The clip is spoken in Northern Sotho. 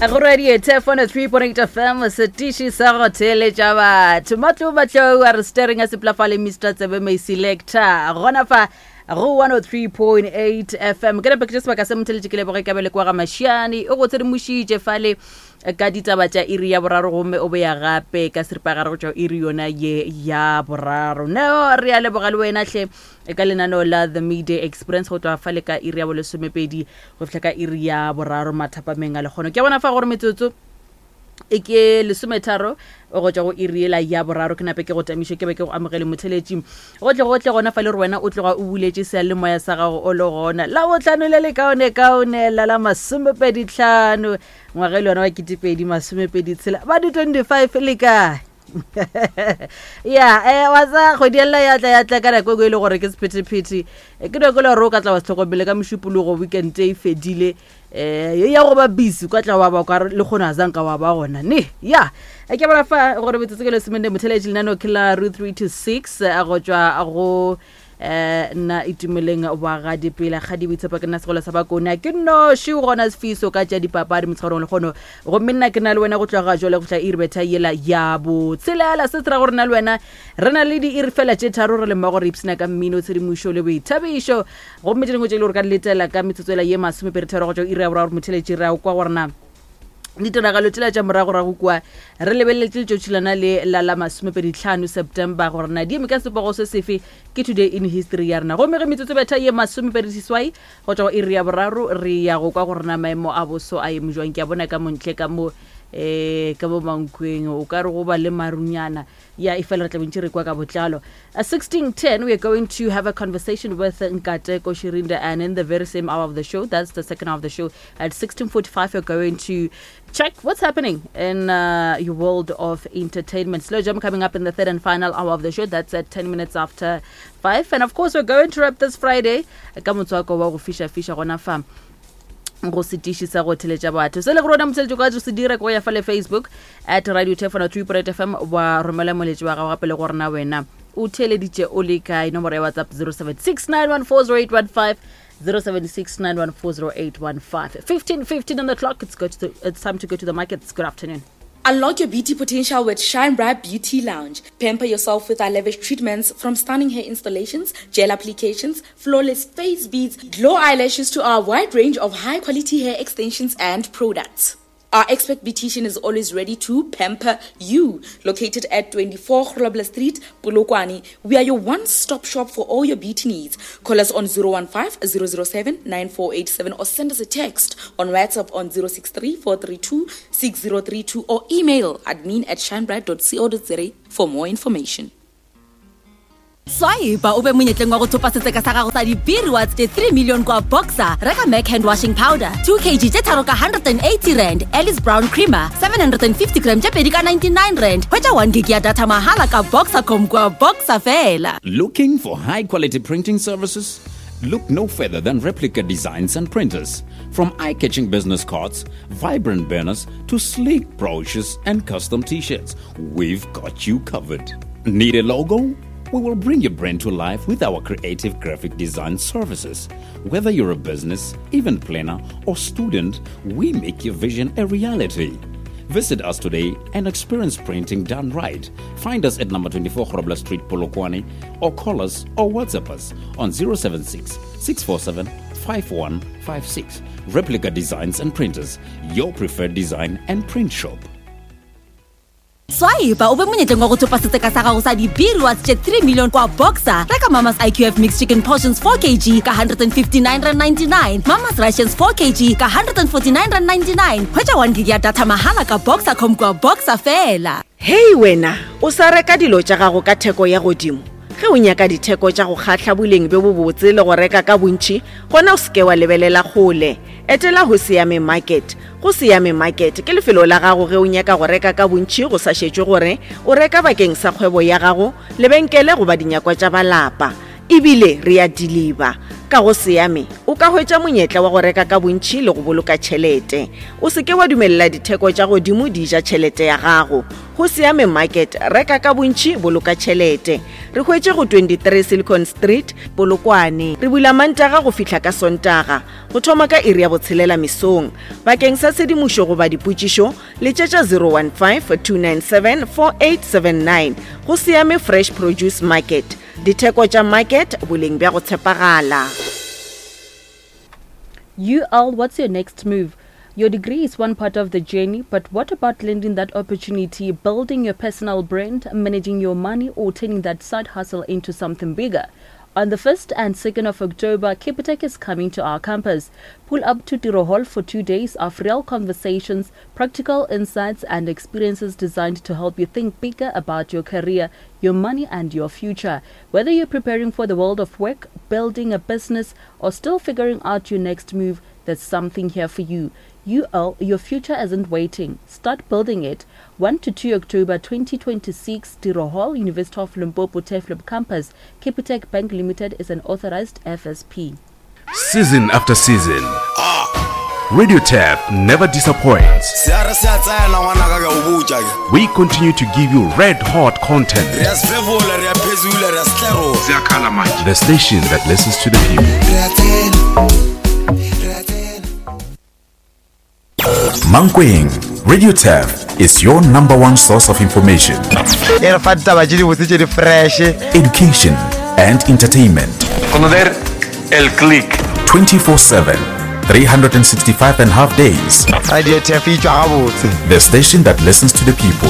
Go radio Thefone 3.8 FM setiši sa go theeletša batho matlo matlou a re staring a seplafale Mr Tsebe May Selector gona fa go 103.8 FM ke nape ke tše sebaka se motheletše ke leboge kabele kwa ga Mašiane o go tshedimošitše fale ka ditaba tša iri ya boraro gomme o boya gape ka seripagare go tšwa iri yona ye ya boraro no re a leboga le wena hle ka lenaneo la the midday experience go tloga fale ka iri ya bolesomepedi go fihla ka iri ya boraro mathapameng a lekgono ke a bona fa gore metsotso e ke lesometharo go tšwa go iri ela ya boraro ke nape ke go tamiše ke be ke go amogele motheletši gotle gotle gona fa le gore wena o tloga o buletše seyalemoya sa gago o le gona la botlhano le le kaone kaone la la masomepeditlhano ngwaga e le yona wa ketepedi masomepedi tshela ba di 25 le kae ya eh wa tsa kgwedi ya lla ya tla ya tla ka nako e le gore ke sephethephethe eh, ke nako e le gore o ka tla wa se tlhokomele ka mošupologo weekend e fedile um ya go ba busy ka tla wa ba kwa le kgone a zanka wa ba gona ne ya eh, ke bona fa gore metsotso ke lesemenne motheletši lenaneo ke la ru 3 to 6 go tšwa go eh nna itumeleng wa ga dipela ga di boitshepo ke nna segolo sa bakone ke noši gona sefiso ka tša dipapadi motshegarong le kgono gomme nna ke na le wena go tloga jale go fihla iri betha yela ya botshelela se se ra gore nna le wena re na le diiri fela tše tharo re le mmogo re ipshina ka mmino tshedimošo le boithabišo gomme tše dingwe tše e le gore ka di letela ka metsotso ela ye masomepedi go tšwa iri ya boraro motheletši re a kwa gore na ditiragalo tšela tša moragorago kua re lebeleletše letšatši lona le la la masomepeditlhano september gore na di eme ka sepogo se sefe ke today in history ya rena gomme ge metsotso betha ye masomepediseswai go tšwa go iri ya boraro re ya go kwa gore na maemo a boso a eme jwang ke a bona ka montle ka mo um ka mo mankweng o ka re go ba le marunyana ya e fela re tla bontši re kwa ka botlalo At 16:10 we are going to have a conversation with Nkateko Shirinda and in the very same hour of the show that's the second hour of the show at 16:45 we're going to check what's happening in uh, your world of entertainment slow jam coming up in the third and final hour of the show that's at 10 minutes after 5 and of course we're going to wrap this Friday ka motswako wa go fisha fisha gona fa go setiši sa go theletša batho se le gore wena motheletši ka se dira ke go ya fa le facebook at radio tefona 3 fm wa romela moletši wa gago gape le gore na wena o theleditše o le kae nomoro ya whatsapp 0769140815 0769140815 15 15 on the clock it's, go to the, it's time to go to the markets good afternoon Unlock your beauty potential with Shine Bright Beauty Lounge. Pamper yourself with our lavish treatments from stunning hair installations, gel applications, flawless face beads, glow eyelashes to our wide range of high quality hair extensions and products. Our expert beautician is always ready to pamper you. Located at 24 Grobler Street, Polokwane, we are your one-stop shop for all your beauty needs. Call us on 015 007 9487 or send us a text on WhatsApp on 063 432 6032 or email admin at shinebright.co.za for more information. Swipe o be monyetleng wa go thopa setseka sa gago sa dibiriwa tše 3 million kwa Boxer. Reka Mac hand washing powder 2 kg tše tharo ka 180 rand, Alice Brown creamer 750 gram tše pedi ka 99 rand. Hwetša 1 gig ya data mahala ka Boxercom kwa Boxer fela. Looking for high quality printing services? Look no further than Replica Designs and Printers. From eye catching business cards, vibrant banners, to sleek brochures and custom t shirts, we've got you covered. Need a logo? We will bring your brand to life with our creative graphic design services. Whether you're a business, event planner, or student, we make your vision a reality. Visit us today and experience printing done right. Find us at number 24 Grobler Street, Polokwane, or call us or WhatsApp us on 076 647 5156. Replica Designs and Printers, your preferred design and print shop. Swipe o be monyetleng wa go thopa setseka sa gago sa dibiriwa tše 3 million kwa Boxer. Reka Mama's IQF mixed chicken portions 4 kg ka 159.99, Mama's Rations 4 kg ka 149.99. Hwetša 1 gig ya data mahala ka Boxercom kwa Boxer fela. Hei wena, o sa reka dilo tša gago ka theko ya godimo? Ge o nyaka ditheko tša go kgahla boleng bjo bobotse le go reka ka bontši, gona o se ke wa lebelela kgole. Etela Hoseyame Market. Go Seyame Market ke lefelo la gago ge o nyaka go reka ka bontši go sa šetšwe gore o reka bakeng sa kgwebo ya gago, lebenkele goba dinyakwa tša ba lapa. Ebile re a diliba. Ka go Seame, o ka hwetša monyetla wa go reka ka bontši le go boloka tšhelete. O se ke wa dumelela ditheko tša godimo di ja tšhelete ya gago. Go Seame Market, reka ka bontši, boloka tšhelete. Re hwetše go 23 Silicon Street, Polokwane. Re bula Mantaga go fihla ka Sontaga, go thoma ka iri ya botshelela mesong. Bakeng sa tshedimošo goba dipotšišo, letšetša 015-297-4879. Go Seame Fresh Produce Market, ditheko tša market, boleng bja go tshepagala. UL, what's your next move? Your degree is one part of the journey, but what about landing that opportunity, building your personal brand, managing your money, or turning that side hustle into something bigger? On the 1st and 2nd of October, Capitec is coming to our campus. Pull up to Tiro Hall for two days of real conversations, practical insights, and experiences designed to help you think bigger about your career, your money, and your future. Whether you're preparing for the world of work, building a business, or still figuring out your next move, there's something here for you. UL, your future isn't waiting. Start building it. 1 to 2 October 2026, Tiro Hall, University of Limpopo Turfloop Campus. Capitec Bank Limited is an authorized FSP. Season after season, Radio Tap never disappoints. Se a re se a tsena ngwanaka ke a o botša ke. We continue to give you red hot content. Re a sefefola, re a phezula, re a setlerola. The station that listens to the people. Re a tsena, re a tsena. Mankweng, Radio Turf is your number one source of information. E re fa ditaba tše dibotse tše di fresh. Education and entertainment. Conocer el click. 24/7, 365 and half days. Radio Turf e tšwa gabotse. The station that listens to the people.